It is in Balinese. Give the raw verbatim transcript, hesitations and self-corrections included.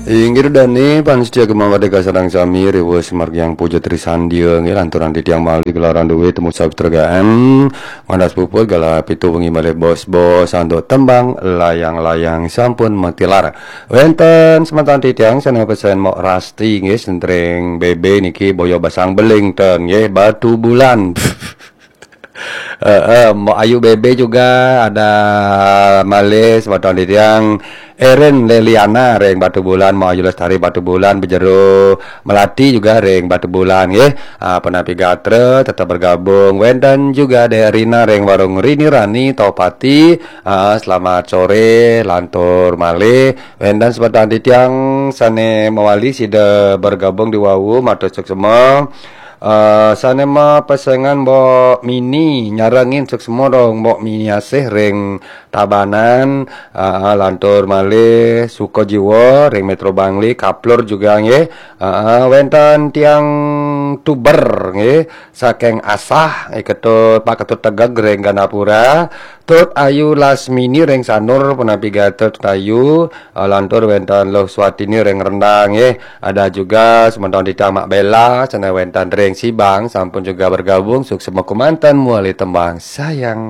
Inggih dane pamiarsa Gema Merdeka sareng sami, riwuh sumargiang puja trisandia nggih, lanturan titiang malih gelaran duwe temu sabda G M. Ngantos puput galah pitu wengi malih bos-bos antuk tembang layang-layang sampun matilar. Wenten semeton titiang sane pesen Mok Rasti nggih, sentring B B niki boya basang beling ten nggih, Batu Bulan. Heeh, Mbok Ayu B B juga ada malih semeton titiang Erin Leliana ring Batu Bulan, Mbok Ayu Lestari Batu Bulan, Bejero Melati juga ring Batu Bulan nggih. Ah, penapi gatra tetap bergabung. Wenten juga Dek Rina ring Warung Rini Rani Topati. Ah, selamat sore, lantur malih. Wenten semeton titiang sane mewali sida bergabung di wau, matur suksma. Eh, sane mapesengan Mbok Mini, nyarengin suksma dong Mbok Mini Asih ring Tabanan, eh, lantur malih Suka Jiwa ring Metro Bangli, kaplur juga nggih. Eh, wenten tiang Tuber nggih, saking Asah, eh, Ketut, Pak Ketut Tegeg ring Gandapura, Tut Ayu Lasmini ring Sanur, penapi gatra Tut Ayu, eh, lantur wenten Luh Swatini ring Rendang nggih. Ada juga semeton titiang Mak Bella, sane wenten ring Sibang, sampun juga bergabung, suksma kemanten mewali tembang sayang.